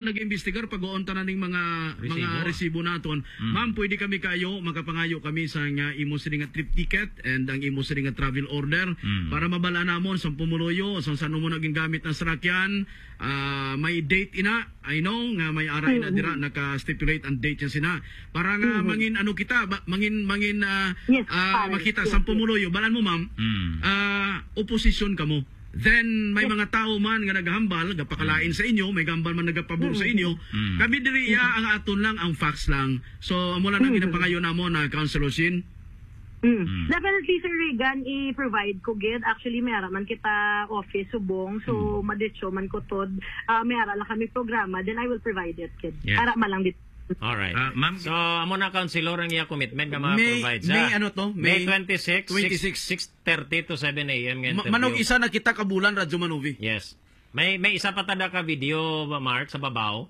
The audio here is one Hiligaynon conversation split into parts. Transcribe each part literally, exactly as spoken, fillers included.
nag-imbestigar, pag-uon tanan ning mga, mga Resibo. resibo naton. Mm. Ma'am, pwede kami kayo, makapangayo kami sa nga imo sini nga trip ticket and ang imo sini nga travel order Mm. para mabal-an namon sa pumuluyo, sa saan mo naging gamit ang sarakyan, ah, may date ina. I know nga may ara ina Mm. dira naka-stipulate ang date niya sina. Para nga Mm. mangin ano kita, ba, mangin, mangin, ah, Yes, ah, pare. makita Yes, sa yes. pumuluyo. Balan mo, ma'am, Mm. ah, oposisyon kamo. Then, may Yes. mga tao man nga naghambal, gapakalain Mm. sa inyo, may gambal man nagapabor sa Mm. inyo. Mm. Kami diri, iya, Mm. ang aton lang, ang facts lang. So, amo lang ang Mm. ginapangayo namo na, Councilor Shin. Mm. Mm. Definitely, Sir Regan, i-provide ko gid. Actually, may ara man kita office subong. So, Mm. maditso man ko tod. Ah, may ara lang kami programa. Then I will provide it gid. Yeah. Ara man lang dit. Alright. Ah, ma'am, So, amo na, Councilor, ang iya commitment nga May, ma-provide sa may ano to? May May twenty-six, twenty-six. six, six thirty to seven A M nga Ma-, interview. Manog isa na kita ka bulan, Radyo Manovi. Yes. May, may isa pa tada ka video, Mark, sa babaw.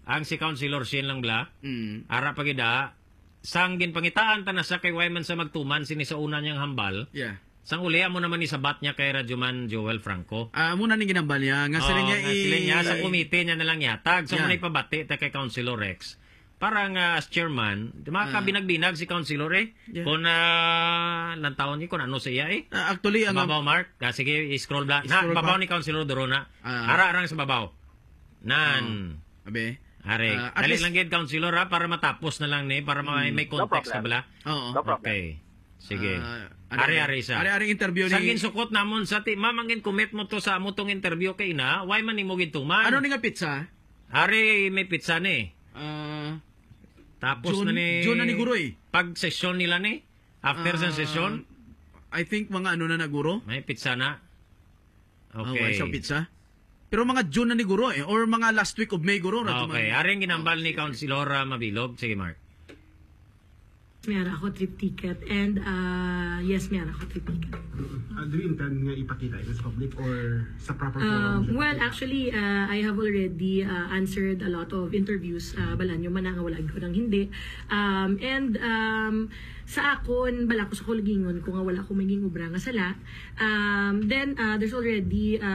Ang si Councilor Shin lang bla. Mm. Ara pa gid, ah. Sang ginpangitaan ta na siya kay why man sa magtuman sini sa una niyang hambal. Yeah. Sang uli, amo naman ni sabat niya kay Radyoman Joel Franco. Ah, amo na ning ginambal niya. Nga sila Oo, niya nga sila i- niya, sa komite niya na lang ihatag. So, Yeah. muna ipabati ta kay Councilor Rex. Para nga as chairman, di Ah. makabinag-binag si Councilor eh. Yeah. Kung, ah, lantawon niyo kung ano sa iya eh. Ah, actually, Sa ang babaw, Mark. Ah, sige, i-scroll bla-, na, I-scroll babaw back. ni Councilor Duro na. Ah. Ara-arang sa babaw. Nan. Ah, abi. Are, Ah, at dali least lang gid, Councilor, ha, para matapos na lang ni, para may, Mm. may No context problem. na bala. Oo. No problem. Okay. Sige. Ah, ano Are, ba? are, isa. Are, are, interview Sa ni ginsukot namon sa ti-, ma'am, ang gin-commit mo to sa amo tong interview kay ina, why man nimo gintuman? Ano ni nga pizza? Are, may pizza ni. Ah, Tapos June, na ni June na ni Guroy. Pag session nila ni, after sa Ah, session, I think mga ano na na, Guro. may pizza na. Ah, Okay. wala siyang pizza. Pero mga June na ni Guro eh, or mga last week of May, Guro, Ah, Radyo okay. Man. Aring ginambal Oh, ni sige. Councilor, ah, Mabilog. Sige, Mark. May ara ako trip ticket. And, ah, yes, may ara ako trip ticket. Ah, do you intend nga ipakita ito sa public or sa proper Ah, forum siya well, ipakita? actually, ah, I have already, ah, answered a lot of interviews. Ah, balaan nyo man na nga wala ko nang hindi. Um, and, um, sa akon, bala ko sa kuligingon ko nga wala ko maging obra nga sala. Um, then, uh, there's already a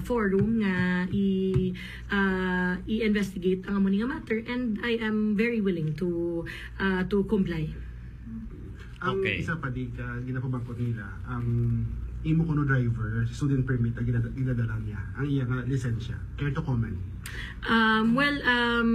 forum nga i-, uh, i-investigate ang amo ni nga matter, and I am very willing to, uh, to comply. Ang Okay. isa pa di ka ginapabangkot nila, ang imo kuno driver, student permit ang ginada-, ginadala niya, ang iya nga lisensya. Care to comment? Um, well, um,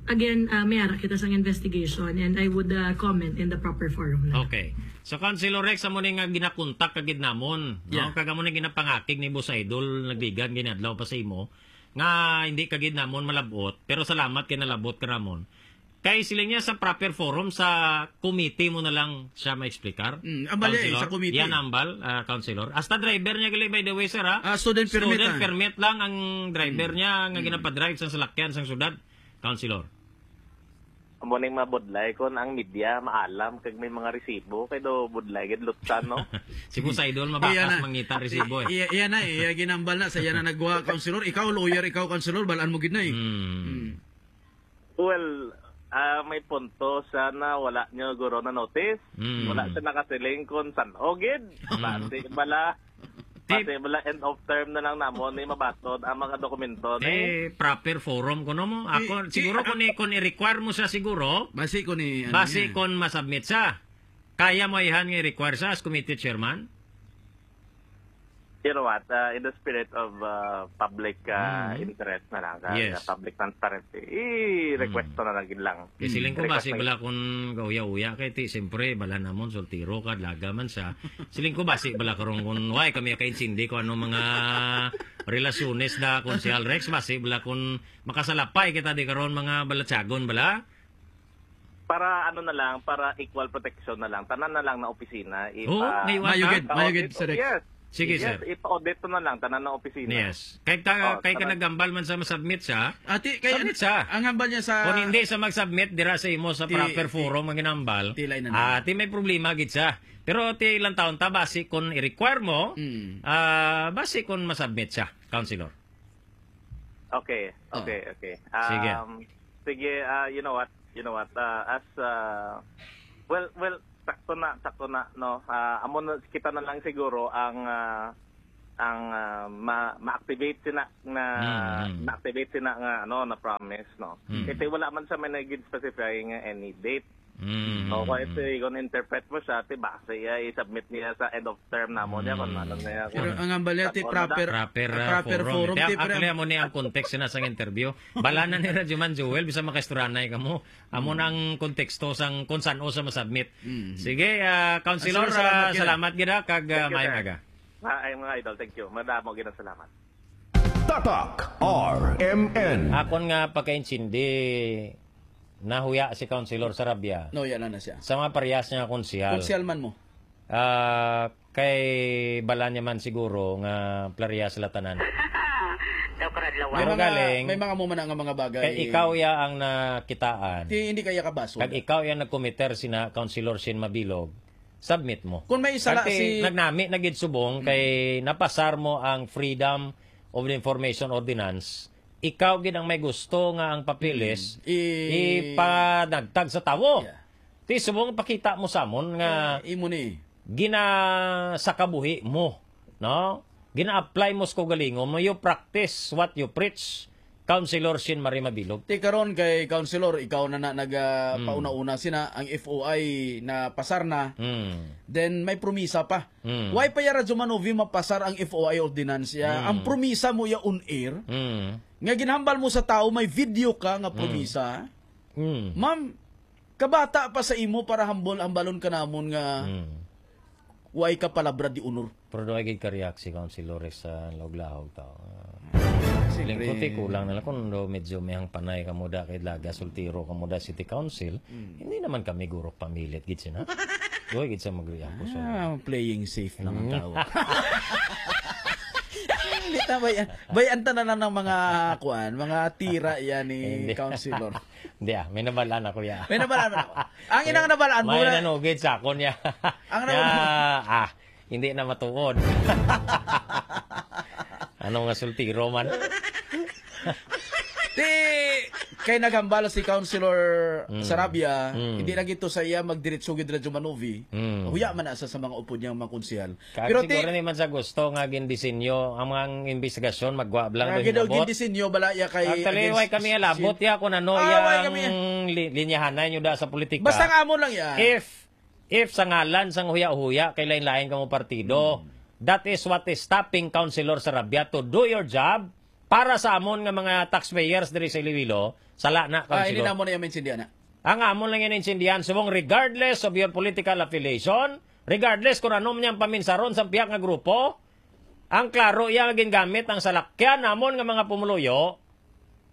again, uh, may ara kita sang investigation, and I would, uh, comment in the proper forum na. Okay. So, Councilor Rex, amo ni nga ginakontak ka gid namon, no? Yeah. Kag amo ni ginapangakig ni Boss Idol, Nagbigan, ginadlaw pa sa imo, nga hindi ka gid namon malabot, pero salamat kay nalabot ka namon. Kay siling niya sa proper forum, sa committee mo na lang siya ma-explicar, Mm, ambal niya eh, Councilor. sa committee. Yan ambal, ah, Councilor. Hasta driver niya gali, by the way, sir, ha? Ah, student permit, Student ah. permit lang ang driver Mm. niya nga Mm. ginapadrive sa salakyan sang syudad, Councilor. Amo ning mabudlay kon ang media maalam kag may mga resibo, kay do budlay gid lutsan, no? Si Boss Idol, Iya mabakas na. mangita resibo, eh. Iya, iya na, iya ginambal na sa iya na nagwa, Councilor. Ikaw, lawyer, ikaw, Councilor, balaan mo gid na, eh. Hmm. Hmm. Well, ah, may punto siya na wala niyo guro na notice. Hmm. Wala siya nakasiling kung san-o gid. Hmm. Basi bala, Ti- basi bala end of term na lang namon ni mabatod ang mga dokumento ni. Eh, proper forum kuno mo. Ti-, Ako, ti-, siguro ah, kung i-, kung i-require mo siya siguro, Basi ko ni, ano basi niya. kung masubmit siya. Kaya mo ihan nga i-require siya as committee chairman? You know what? Uh, in the spirit of, uh, public, uh, Mm. interest na lang, uh, Yes. public transparency, i-request Mm. ko na lang gid lang. Kay siling ko, Request basi lang. bala kung gauya-uya kay ti, siyempre, bala namon, soltero ka, dalaga man siya. Siling ko, basi bala karon kung, why kami ka-insindi kung ano mga relasyones da, Konsehal Rex, basi bala kung makasalapay kita di karon, mga balatyagon bala. Para ano na lang, para equal protection na lang. Tanan na lang na opisina, Oh, ipa- may iwan Mayo ka? gid, mayo gid, Audit, Sir Rex. yes. Sige, Yes, sir. ipa-audit na lang, tanan na opisina. Yes. Kay ta-, Oh, kay ka tanan. nagambal man sa masubmit siya, Ati, kay submit siya. ang hambal niya sa Kung hindi sa mag-submit, dira sa imo sa Ti-, proper ti-, forum ang ginambal. tilay na Ah, lang. ti may problema gid siya. Pero ti ilang taon ta, basi kung i-require mo, Mm. ah, basi kung masubmit siya, Councilor. Okay, Oh. okay, okay. Sige. Um, sige, ah, you know what? You know what? Ah, as, ah, well, well, sakto na, sakto na, no? Ah, amo na, kita na lang siguro ang, ah, ang, ah, ma-, ma-activate sina na, Mm, mm. ma-activate sina nga, ano, na promise, no? Mm. Iti wala man sa may nagid specify nga any date. Mm, So, mm, kung ito, mm. kung interpret mo siya, ti base iya, i-submit niya sa end of term namo niya, kung Mm. ano niya, Pero kung ang hambal niya, ti ano na proper, Proper, ah, proper forum. forum, Kaya ti pre- actually, amo ni ang context na sang interview. Bala na ni Radyo Man Joel, bisa makaistoryanay kamo. Amo Mm. nang konteksto sang kung san-o sa masubmit. Mm. Sige, ah, Councilor, Councilor, salamat ah, gid. salamat gid, ah, kag, ah, Thank you, maayong sir. aga. Ah, ay, mga idol, thank you. Madamo gid ang salamat. Tatak R M N. Akon nga pagkaintindi, nahuya si Councilor Sarabia No, yan na, na siya. sa mga parehas niya nga konsehal. Konsehal man mo. Ah, kay bala niya man siguro nga parehas sila tanan. Daw karadlawan. May Pero mga, galing, may mga mo man nga mga bagay. Kay ikaw ya ang nakitaan. Ti, hindi kaya kabasol. Kag ikaw ya nagkomiter sina Councilor Shin Mabilog. Submit mo. Kung may sala Kay si nagnami na gid subong Mm. kay napasar mo ang Freedom of Information Ordinance, ikaw gid ang may gusto nga ang papeles Mm. I- ipanagtag sa tawo. Yeah. Ti subong pakita mo sa amon nga Eh, imo ni. ginasakabuhi mo, no? Gina-apply mo sa kaugalingon mo, you practice what you preach, Councilor Shin Marie Mabilog. Ti karon kay Councilor, ikaw na na nag, ah, Mm. pauna-una sina ang F O I na pasar na. Mm. Then may promisa pa. Mm. Why pa ya Radyo Manovi mapasar ang F O I ordinance ya? Mm. Ang promisa mo ya on air, Mm. nga ginhambal mo sa tao, may video ka nga Mm. promisa. Mm. Ma'am, kabata pa sa imo para hambol-hambalon ka namon nga Mm. way ka palabra di honor. Pero do ay gid ka-react si Councilor Rex sa laog-lahog tao. Siyempre. Lingkod, ti, kulang na lang kung do medyo may hangpanay ka mo da kay Laga, Soltero ka mo da City Council. Mm. Hindi naman kami gurok pamilit gid sina. Doy gid sa mag-react ko sa Ah, playing safe lang ang Mm. tao. Hindi ta, bay-, bay-an ta na lang ng mga, kuan, mga tira yan ni Hindi. Councilor. Hindi, ah, may nabalaan ako, ya. May nabalaan ako. Ang inang nabalaan mo May na nanugid sa akon, ya. Ang Ya, nabalaan ah, hindi na matuod. Ano nga sultiro man? Di, kay naghambal si Councilor Mm. Sarabia, Mm. hindi na gito sa iya magdiretso gid Radyo Manovi. Mm. Huya man na sa, sa mga upod niyang mga konsehal. Kag Pero ti siguro ni man sa gusto nga gindisenyo ang mga investigasyon, magwa lang Ah, daw gid-, hinabot. gindisenyo bala iya kay Actually, against way kami alabot si ya kung ano Ah, way yang kami. li-, linyahanay nyo da sa politika. Basta nga amo lang ya. If, if sa ngalan sang huya-huya kay lain-lain kamo partido, Hmm. that is what is stopping Councilor Sarabia to do your job para sa amon nga mga taxpayers diri sa Iloilo, sala na, Ah, hindi Councilor. na mo na yung maintindihan na. Ang amon lang yan intindihan, subong regardless of your political affiliation, regardless kung ano man yung paminsaron sa pihak nga grupo, ang klaro iya nga gingamit ang salakyan namon nga mga pumuluyo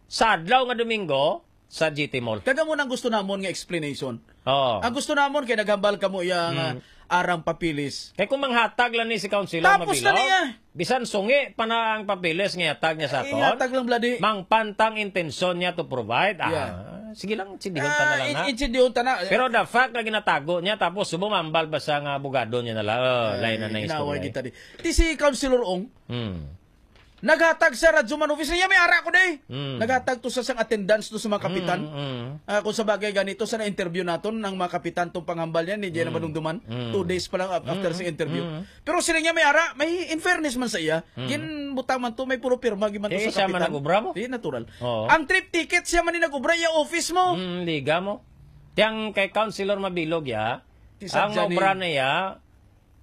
sa adlaw nga Domingo sa G T Mall. Kag amo nang gusto namon nga explanation. Oo. Ang gusto namon kay naghambal kamo iya nga Mm. arang papilis. Kay kung manghatag lang ni si Councilor Tapos na Mabilog, niya. bisan sungi pa na ang papilis nga ihatag niya sa aton, Ihatag lang, bloody. mangpantang intensyon niya to provide. Ah, Yeah. sige lang, intindihan ta na Ah, lang, in-, ha? intindihan ta na. Pero the fact nga ginatago niya, tapos subong mambal ba siya nga abogado niya na lang? Oh, Ay, lain na na yung inaway istorya, eh. kita di. Ti si Councilor Ong, Hmm. naghatag sa Radyo Man Office. Niya may ara ko, day. Hmm. Naghatag to sa sang attendance to sa mga kapitan. Hmm, hmm. Ah, kung sa bagay ganito, sa na-interview naton, ang mga kapitan tong panghambal niya, ni Jenna Hmm. Manungduman. Hmm. Two days pa lang af-, after Hmm. sa interview. Hmm. Pero sila niya may ara, may in fairness man sa iya, Hmm. ginbutang man to, may puro pirma, giman to Eh, sa siya man kapitan. nag-obra mo? Di, natural. Oo. Ang trip ticket, siya man ni nag-obra, iya office mo. Hmm, liga mo. Tiyang kay Councilor Mabilog, ya, Ti ang sadya ni obra na ya,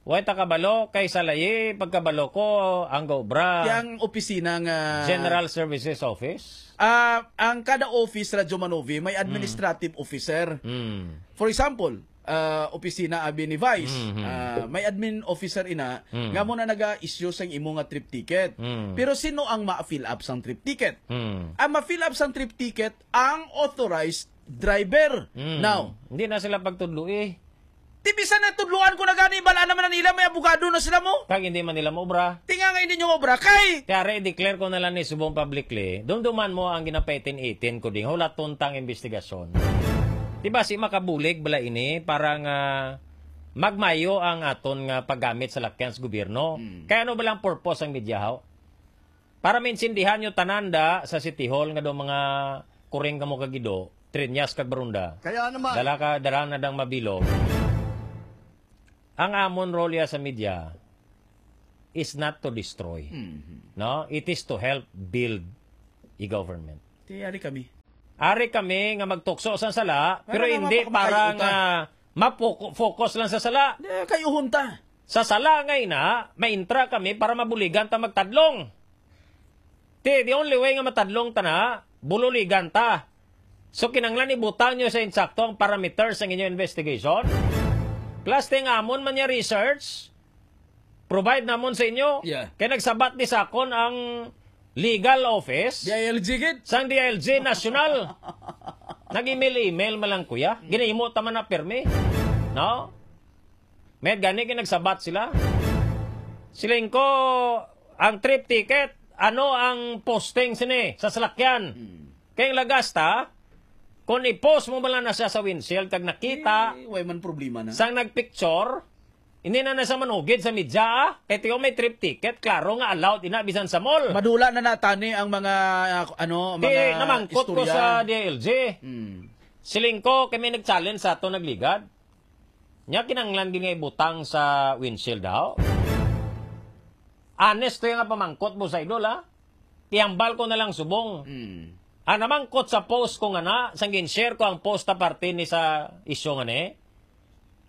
way ta kabalo, kay sa layi, pagkabalo ko, ang obra, Tiyang opisina nga General Services Office. Ah, ang kada office, Radyo Manovi, may Hmm. administrative officer. Hmm. For example, ah, opisina abi ni Vice, Mm-hmm. ah, may admin officer ina Mm. nga mo na naga-issue sang imo nga trip ticket. Mm. Pero sino ang ma-fill up sang trip ticket? Mm. Ang ma-fill up sang trip ticket ang authorized driver. Mm. Now, Hindi na sila pagtudloi. Ti bisan na tudluan ko na gani, bala naman na nila, may abogado na sila mo. Kag hindi man nila maobra. Tinga nga hindi nyo maobra, kay Kaya re, i-declare ko na lang ni subong publicly, dumduman mo ang ginapaitin-itin ko ding hulaton tang investigasyon. Di ba si makabulig bala ini para nga magmayo ang aton nga paggamit sa lakyan sa gobyerno? Mm. Kaya ano ba lang purpose ang media, haw? Para maintindihan nyo tanan da sa City Hall nga do mga kuring kamo kagido, Trinyas kag Barunda. Kaya naman. Dala ka, dala na dang mabilog. Ang amon role ya sa media, is not to destroy. Mhm. No? It is to help build a government. Ti, ari kami. Ari kami nga magtukso sa sala, Para pero nga hindi mapakapakayo para ta. nga mapoko-, focus lang sa sala. Di, kayuhon ta. Sa sala nga ina, maintra kami para mabuligan ta magtadlong. Ti, the only way nga matadlong ta na, bululigan ta. So, kinanglan ibutang nyo sa insakto ang parameters sang inyo investigation. Plus, ting amon man niya research, provide namon sa inyo. Yeah. Kay nagsabat ni sakon ang legal office D I L G gid. sang D I L G National. Nag-email-email man lang, kuya. Ginahimo ta man na pirmi. No? May gani kay nagsabat sila. Siling ko, ang trip ticket, ano ang posting sini sa salakyan? Hmm. Kay ang lagas ta, kung i-post mo man lang na siya sa windshield, kag nakita Eh, way man problema na. sang nagpicture, hindi na na siya manugid sa media, ah. Kay tiyo may trip ticket, klaro nga allowed ina bisan sa mall. Madula na natani ang mga, ah, ano, Di, mga namangkot ko istorya. sa D I L G. Hmm. Siling ko, kay may nag-challenge sa ato nagligad. Nya kinanglan gid nga ibutang sa windshield daw. Honest to yung nga pamangkot mo sa idol, ha? Ihambal ko na lang subong. Hmm. Ang namangkot sa post ko nga na, sang gin-share ko ang post ta parte ni sa isyu nga ni.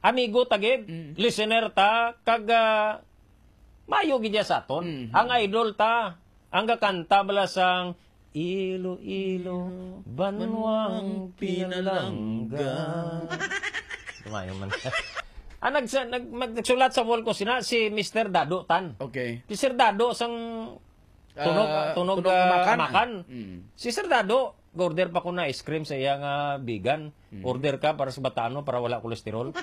Amigo ta gid, Mm. listener ta, kag, ah, mayo gid niya sa aton. Mm. Ang idol ta, ang gakanta bala sang Iloilo, Banwang Pinalangga. Tumayo man. Ah, nagsa-, nag-, mag-, nagsulat sa wall ko sina si Mister Dado Tan. Okay. Si Sir Dado sang Tunog, Ah, Tunog, Tunog ah, Amakan. Amakan. Mm. Si Sir Dado, order pa ko na ice cream sa iya nga vegan. Mm. Order ka para sa batano, para wala kolesterol.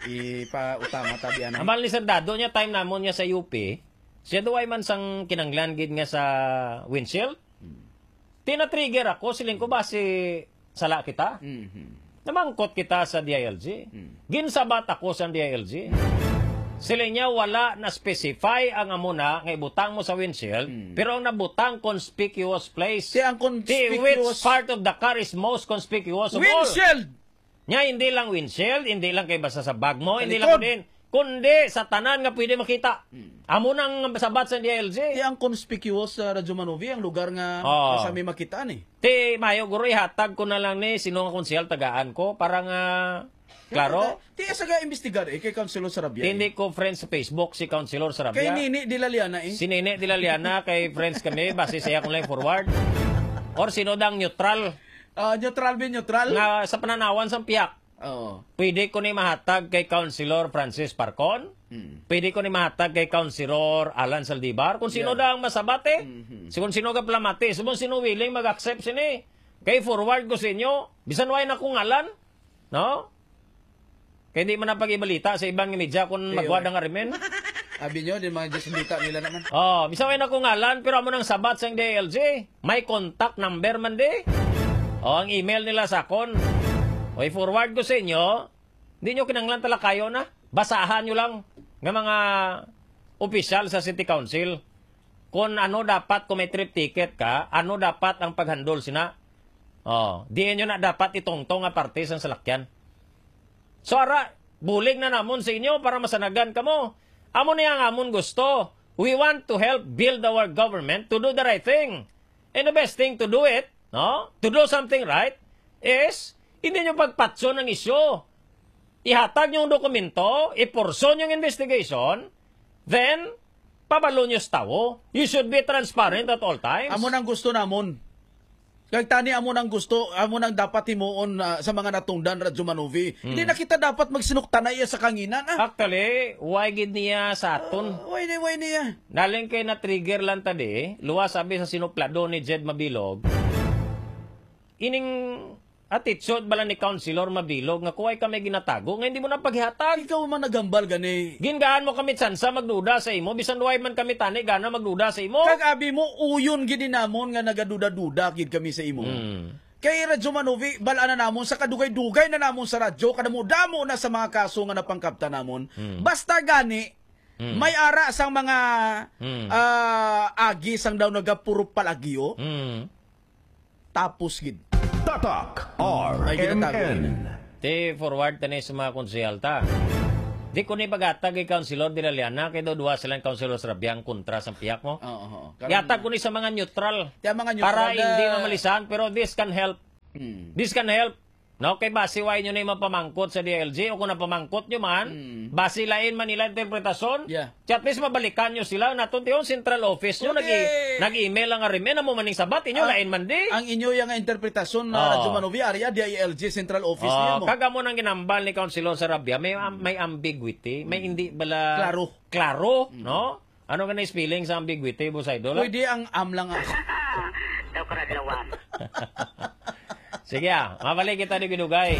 Ipautama tabi, ano? Amal ni Sir Dado niya, time namon niya sa U P, siya duway man sang kinanglan gid nga sa windshield. Mm. Tina-trigger ako, siling ko, basi sala kita? Mhm. Namangkot kita sa D I L G. Mm. Ginsabat ako sa D I L G. Siling niya, wala na-specify ang amo na nga ibutang mo sa windshield, Mm. pero ang nabutang conspicuous place. Ti ang Ti, which conspicuous part of the car is most conspicuous of all? Windshield! Nya, hindi lang windshield, hindi lang kay basta sa bag mo, Sa hindi likod. lang din, kundi sa tanan nga pwede makita. Mm. Amo nang sabat sa D I L G. Ti ang conspicuous sa Radyo Manovi, ang lugar nga Oo. basta may makita ni. Ti, mayo, guro, ihatag ko na lang ni sino nga konsehal tagaan ko para nga, klaro. Ti, ti, sa ga-imbestigar, eh, kay Councilor Sarabia, eh. Hindi ko friends sa Facebook si Councilor Sarabia. Kay Nini Dilaliana, eh. Si Nini Dilaliana, kay friends kami, base sa iya kung lang forward. Or sino dang neutral. Ah, neutral, be, neutral. Nga sa pananawan sang pihak. Oo. Pwede ko ni mahatag kay Councilor Francis Parcon. Mm. Pwede ko ni mahatag kay Councilor Alan Saldivar. Kung sino Yeah. dang masabat, eh. Mhm. Si kung sino ka plamati. Kung sino willing mag-accept sini. Kay forward ko sa inyo. Bisan way na kong ngalan. No? Kay di man na pag-ibalita sa ibang media kung Ay, magwa oy. dang arimen. Abi nyo, din mga Diyos ang dita nila naman. Oh, bisan way na kong ngalan, pero amo nang sabat sang D I L G. May contact number man di. O, ang email nila sa akon. O, i-forward ko sa inyo. Di nyo kinanglan talakayo na. Basahan nyo lang nga mga opisyal sa City Council. Kung ano dapat, kung may trip ticket ka, ano dapat ang paghandol sina. Oh, di nyo na dapat itungtong nga parte sang salakyan. So, ara, bulig na namon sa inyo para masanagan kamo. Amo ni ang amon gusto. We want to help build our government to do the right thing. And the best thing to do it, no? To do something right is hindi nyo pagpatson ang isyu. Ihatag nyo ang dokumento, i-pursue nyo ang investigation, then pabalo nyo sa tawo. You should be transparent at all times. Amo nang gusto namon. Kag tani amo nang gusto, amo nang dapat himuon, ah, sa mga natungdan, Radyo Manovi. Hmm. Hindi na kita dapat magsinuktanay sa kanginan, ah. Actually, why gid niya sa aton? Ah, why ni-, why niya? Naling kay na-trigger lang ta di, luwas abi sa sinuplado ni Jed Mabilog. Ining attitude bala ni Councilor Mabilog nga kuway kami ginatago nga hindi mo na paghihatag. Ikaw man naghambal gani. Gingaan mo kami tsansa magduda sa imo, bisan duway man kami tani gana magduda sa imo. Kag abi mo, uyon gid ni namon nga nagaduda-duda gid kami sa imo. Hmm. Kay Radyo Manovi, bal-an na namon sa kadugay-dugay na namon sa radyo, kadamo-damo na sa mga kaso nga napangkabta namon. Hmm. Basta gani, Hmm. may ara sang mga, Hmm. ah, agi sang daw nagapuro palagyo. Hmm. Tapos gid. Tatak Ay, ginatago R M N. gid. Ti forward tani sa mga konsehal ta. Di ko ni paghatag kay Councilor Dilaliana, kay daw duha sila ang Councilor Sarabia ang kontra sa pihak mo. Oo, oo. Karon Yatag ko ni sa mga neutral. Kaya mga neutral Para na hindi mamalisan, pero this can help. Hmm. This can help. No, kay basi wa inyo na yung mapamangkot sa D I L G o kung napamangkot nyo man, Hmm. basi lain man nila interpretasyon, Yeah. at least mabalikan nyo sila. Naton tiyon central office nyo, Pwede. nag-i-, nag-email ang R M N, amo man ning sabat, inyo Ang, lain man di. ang inyo yang interpretasyon na Oh. Radyo Manovi, ari, ah, D I L G central office Oh, niya mo. Kag amo nang ginambal ni Councilor Sarabia, may am-, may ambiguity, may Mm. hindi bala Klaro. klaro, Mm. no? Ano ka na spelling sa ambiguity, Boss Idol, ah? Pwede ang am lang, ah. Daw karadlawan. Sige, ah. Mabalik kita ni Binugay.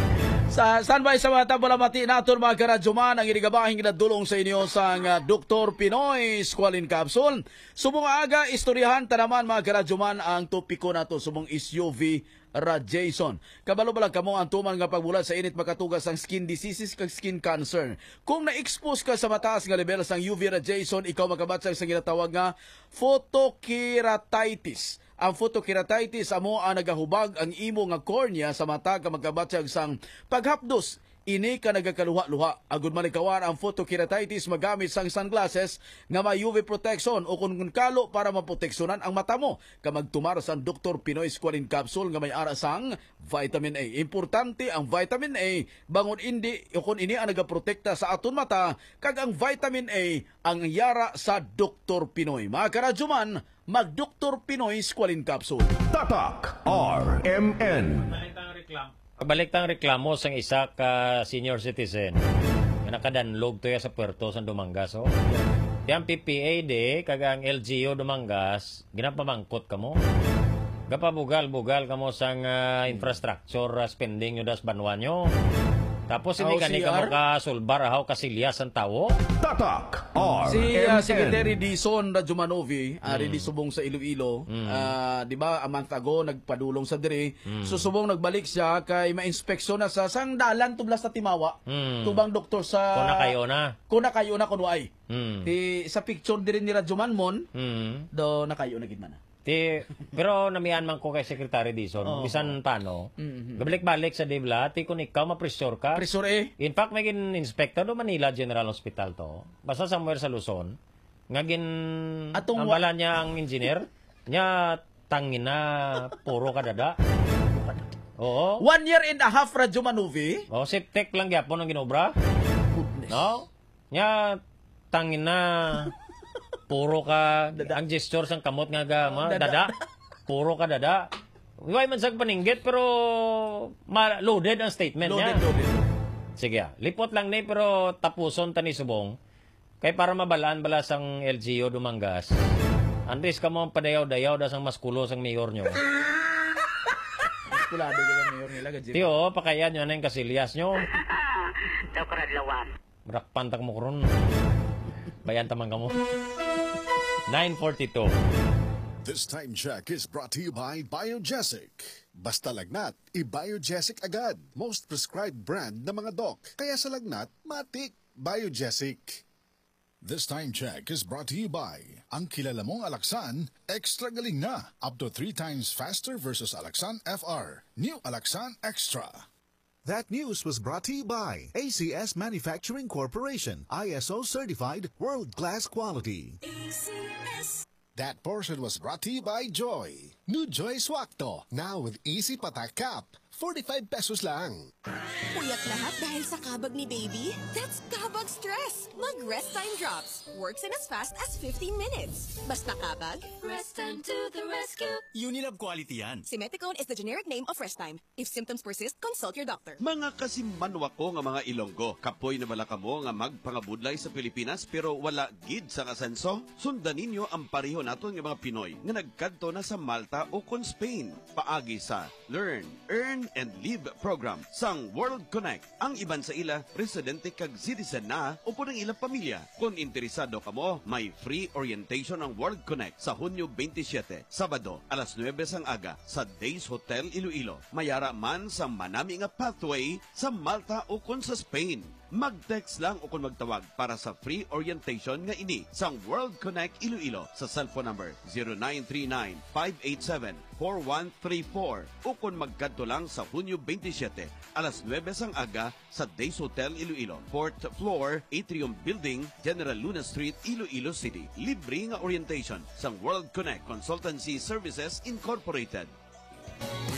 Sa standby sa mga tambalamati naton, mga karadyoman, ang inigabahin ginadulong sa inyo sang, ah, Doktor Pinoy Squalene Capsule. Subong aga, istoryahan ta naman, mga karadyoman, ang topiko nato subong is U V radiation. Kabalo ba lang kamo ang tuman nga pagbulat sa init makatuga sang skin diseases kag skin cancer? Kung na-expose ka sa mataas nga level sang U V radiation, ikaw makabatyag sa ginatawag nga photokeratitis. Ang photokeratitis amo ang nagahubag ang imo nga cornea sa mata kag makabatyag sang paghapdos. Ini ka nagakaluha-luha. Agud malikawan ang photokeratitis, magamit sang sunglasses nga may U V protection o kun kalo para maproteksyonan ang mata mo. Kag magtumar sang Doktor Pinoy Squalene Capsule nga may ara sang vitamin A. Importante ang vitamin A, bangon indi o kun ini ang nagaprotekta sa aton mata, kag ang vitamin A ang yara sa Doktor Pinoy. Mga karadyoman, mag Doktor Pinoy Squalene Capsule. Tatak R M N. Balik tang reklamo sang isa ka senior citizen nga nakadanlog to ya sa puerto sa Dumangas, oh. Yang P P A D kag ang L G U Dumangas, ginapamangkot kamo. Gapabugal-bugal kamo sang, ah, infrastructure, ah, spending nyo das banwa nyo. Tapos hindi Aw, gani kamo C R? kasulbar, ahaw kasilyas ang tawo. Tatak R M N. Si, ah, Secretary Dison Radjumanovi, ari Mm. di subong sa Iloilo, Mm. ah, di ba, a month ago, nagpadulong sa diri. Mm. So, subong nagbalik siya kay ma-inspeksyon na sa sang dalan tublas sa Timawa. Mm. Tubang doktor sa Kung nakayo na. Kung nakayo na, kung waay. Mm. Di, sa picture diri ni Radjuman Mon, Mm. do nakayo na gid man na. Ti, pero namian man ko kay Secretary Dison, Oo. bisan paano, Mhm. gabalik-balik sa dibla, ti kung ikaw ma-pressure ka. Pressure eh. In fact, may gin-inspector do Manila General Hospital to. Basta somewhere sa Luzon, nga gin-, Atong ang wa- bala niya ang engineer, niya tangina, puro ka dada. Oo. One year and a half, Radyo Manuvi. Oh, septic lang gyapon ang ginobra. Goodness. No? Nya, tangina, puro ka, Dada. ang gesture sang kamot nga ga-, Oh, ma-, dada. dada. Puro ka dada. Way man sag paninggit, pero ma-, loaded ang statement Loaded, niya. loaded. Sige, ah. Lipot lang ni, pero tapuson ta ni subong. Kay para mabalaan bala sang L G U Dumangas, antes kamo ang padayaw-dayaw da sang maskulo sang mayor nyo. Maskulado ka ba, mayor nila, Gajin? Tiyo, pakayan nyo na yung kasilyas nyo. Daw karadlawan. Marakpan ta mo karon. Bayan ta man kamo. Nine forty-two. This time check is brought to you by Biogesic. Basta lagnat, i-Biogesic agad. Most prescribed brand na mga doc. Kaya sa lagnat, matik, Biogesic. This time check is brought to you by ang kilala mong Alaxan, extra galing na. Up to three times faster versus Alaxan F R. New Alaxan Extra. That news was brought to you by A C S Manufacturing Corporation, I S O certified, world-class quality. A C S. That portion was brought to you by Joy. New Joy Swakto, now with easy patak cap. Forty-five pesos lang. Puyat lahat dahil sa kabag ni baby? That's kabag stress! Mag Rest Time Drops. Works in as fast as fifteen minutes. Basta kabag, Rest Time to the rescue. Unilab quality yan. Simeticone is the generic name of Rest Time. If symptoms persist, consult your doctor. Mga kasimanwa ko nga mga Ilonggo, kapoy na bala kamo nga magpangabudlay sa Pilipinas pero wala gid sang asenso? Sundan ninyo ang pareho naton nga mga Pinoy nga nagkadto na sa Malta ukon Spain paagi sa Learn, Earn, and Live program sang World Connect. Ang iban sa ila, residente kag citizen na upod ang ilang pamilya. Kon interesado kamo, may free orientation ang World Connect sa Hunyo twenty-seven, Sabado, alas nuebe sang aga, sa Days Hotel Iloilo. Mayara man sa manami nga pathway sa Malta ukon sa Spain. Mag-text lang o kon magtawag para sa free orientation nga ini sang World Connect Iloilo sa cellphone number zero nine three nine, five eight seven, four one three four o kon magkadto lang sa Hunyo twenty-seven, alas nuebe sang aga sa Days Hotel Iloilo, fourth floor, Atrium Building, General Luna Street, Iloilo City. Libre nga orientation sang World Connect Consultancy Services Incorporated.